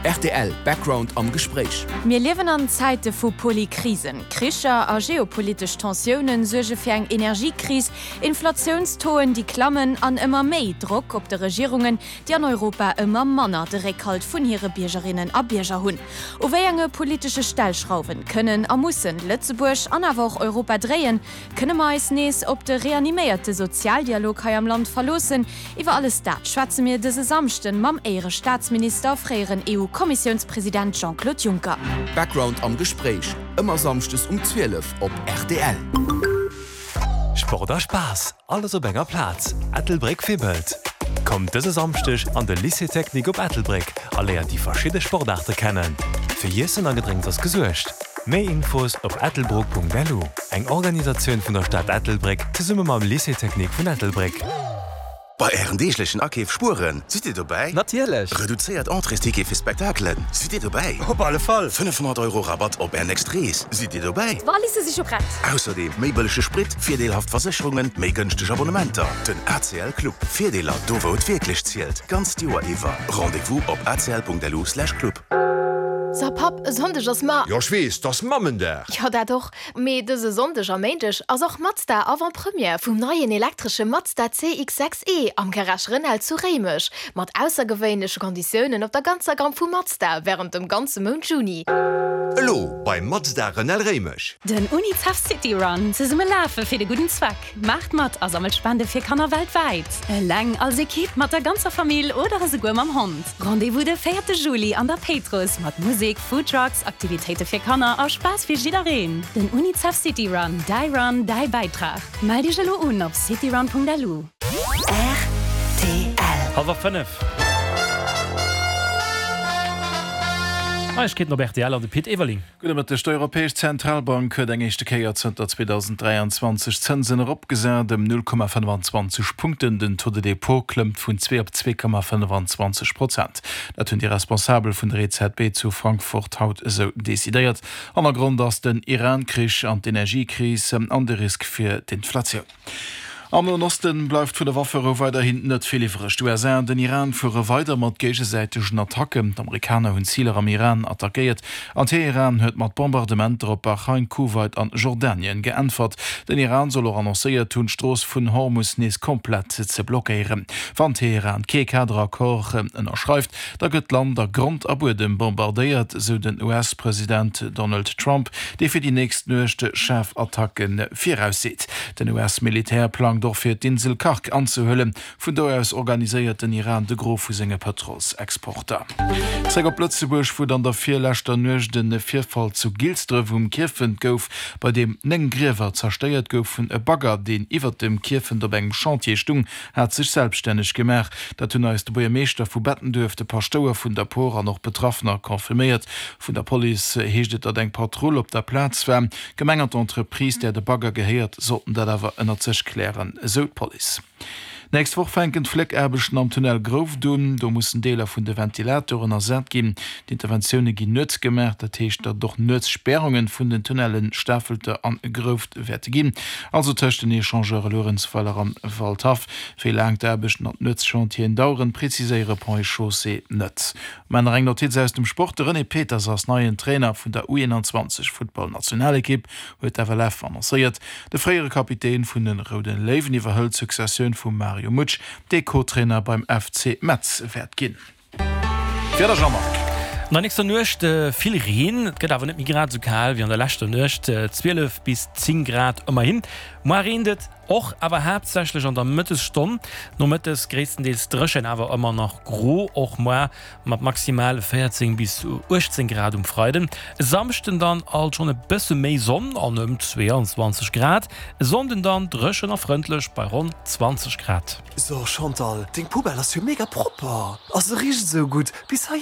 Rtl Background am Gespréich. Mir liewen an Zäite vu Polykrisen. Kricher a geopolitesch Tensioune suerge fir eng Energiekris, Inflatiounstauxen, déi klammen an ëmmer méi Drock op de Regierungen, déi an Europa ëmmer manner de Réckhalt vun hire Biergerinnen a Bierger hunn. U wéi enge politesche Stellschrauwen kënnen a mussen Lëtzebuerg an awer och Europa dréien? Kënne mer eis nees op de reaniméierte Sozialdialog hei am Land verloossen? Iwwer alles dat schwätze mir dëse Samschden mam Éierestaatsminister a fréieren EU-Kommissiounspresident Jean-Claude Juncker. Background am Gespréich, ëmmer samschdes um 12 op rtl. Sport a Spaass, alles op enger Plaz, Ettelbréck wibbelt! Kommt dëse Samschdeg an de Lycée Technique op Ettelbréck a léiert déi verschidde Sportaarte kennen. Fir Iessen a Gedrénks ass gesuergt. Méi Infos op ettelbruck.lu. Eng Organisatioun vun der Stad Ettelbréck zesumme mam Lycée Technique vun Ettelbréck. Bei Ären deeglechen Akeef spueren, sidd Dir dobäi? Natierlech! Reduzéiert Entréesticket fir Spektakelen, sidd Dir dobäi? Op alle Fall! 500 Euro Rabatt op Är nächst Rees, sidd Dir dobäi? D'Walisse si scho prett! Ausserdeem méi bëllege Sprit, virdeelhaft Versécherungen, méi gënschteg Abonnementer. Den ACL Club, Virdeeler do wou et wierklech zielt, d'ganzt Joer iwwer. Rendez-vous op acl.lu/club. So Papp, e Sonndeg ass Ma. Jo ech weess, 't ass Mammendag. Jo dat och, mee dëse Sonndeg a Méindeg ass och Mazda Avant-Première vum neien elektresche Mazda CX-6 E am Garage Renel zu Réimech, mat aussergewéinleche Konditiounen op der ganzer Gamme vu Mazda wärend dem ganze Mount Juni. Elo beim Mazda Renel Réimech. Den Unicef City Run, Zesumme lafe fir de gudden Zweck! Maacht mat a sammelt Spende fir Kanner weltwäit! Eleng, als Ekipp, mat der ganzer Famill oder esouguer mam Hond. Rendez-vous de véierte Juli an der Péitruss mat Musek, Foodtrucks, Aktivitéite fir Kanner a Spaass fir jiddereen. Den Unicef City Run, däi Run, däi Bäitrag. Mellt iech elo un op cityrun.lu. Rtl. Hallwer 5. Neiegkeeten op rtl an de Pit Everling. Gudde Mëtteg. D'Europäesch Zentralbank huet eng éischte Kéier zënter 2023 d'Zënsen eropgesat ëm 0,25 Punkten. Den Taux de dépôt klëmmt vun 2 op 2,25 Prozent. Dat hunn déi Responsabel vun der EZB zu Frankfurt haut esou decidéiert. Hannergrond ass den Iran-Krich an d'Energiekris an de Risk fir d'Inflatioun. Am Noen Osten bleift vun der Wafferou weiderhin net vill iwwreg. D'USA an den Iran fuere weider mat géigesäitegen Attacken. D'Amerikaner hunn Ziler am Iran attackéiert an Teheran huet mat Bombardementer op Bahrain, Kuwait an Jordanien geäntwert. Den Iran soll och annoncéiert hunn, d'Strooss vun Hormus nees komplett ze blockéieren. Wann Teheran kee Kaderaccord ënnerschreift, Da gëtt d'Land a Grond a Buedem bombardéiert, sou den US-President Donald Trump, dee fir déi nächst Nuecht schaarf Attacke virausseet. Den US-Militär plangt och fir d'Insel Kharg anzehuelen. Vun do aus organiséiert den Iran de Gros vu senge Pëtrolsexporter. Zréck op Lëtzebuerg, wou et an der virleschter Nuecht e Virfall zu Gilsdref um Kierfent gouf, bei deem 9 Griewer zerstéiert goufen. E Bagger, deen iwwert dem Kierfent op engem Chantier stung, hat sech selbststänneg gemaach. Dat hunn eis de Buergermeeschter vu Bettenduerf, de Paschtouer vun der Por an och Betraffener confirméiert. Vun der Police heescht et, datt eng Patrull op der Plaz war. D'Gemeng an d'Entreprise, där de Bagger gehéiert, sollten dat awer ënnert sech klären, esou d'Police. Nächst Woch fänken d'Fléckaarbechten am Tunnel Grouft un. Do mussen Deeler vun de Ventilatoren ersat ginn. D'Interventioune ginn nuets gemaach, dat heescht, datt et och nuets Spärunge vun den Tunnellen Stafelter an Grouft wäerte ginn, also tëscht den Echangeure Luerenzweiler an Waldhaff. Wéi laang d'Aarbechten an d'Nuetschantieren daueren, preziséiere Ponts et Chaussées net. Mä nach eng Notiz aus dem Sport, De René Peters ass neien Trainer vun der U21 Futtballnationalekipp, huet d'FLF annoncéiert. De fréiere Kapitän vun de Roude Léiwen iwwerhëlt d'Successioun vum Mario Mutsch, dee Co-Trainer beim FC Metz wäert ginn. Wieder Jean-Marc. An der nächster Nuecht vill Reen, et gëtt awer net méi grad esou kal wéi an der leschter Nuecht, 12 bis 10 Grad ëmmerhin. Moar reent et och, awer haaptsächlech an der Mëttesstonn. Nomëttes gréisstendeels dréchen, awer ëmmer nach gro, och moar mat maximal 14 bis 18 Grad um Freiden. E Samschden dann alt schonn e bësse méi Sonn an ëm 22 Grad. E Sonnden dann dréchen a frëndlech bei ronn 20 Grad. So Chantal, deng Poubelle ass jo mega propper a se richt esou gutt bis heihinner.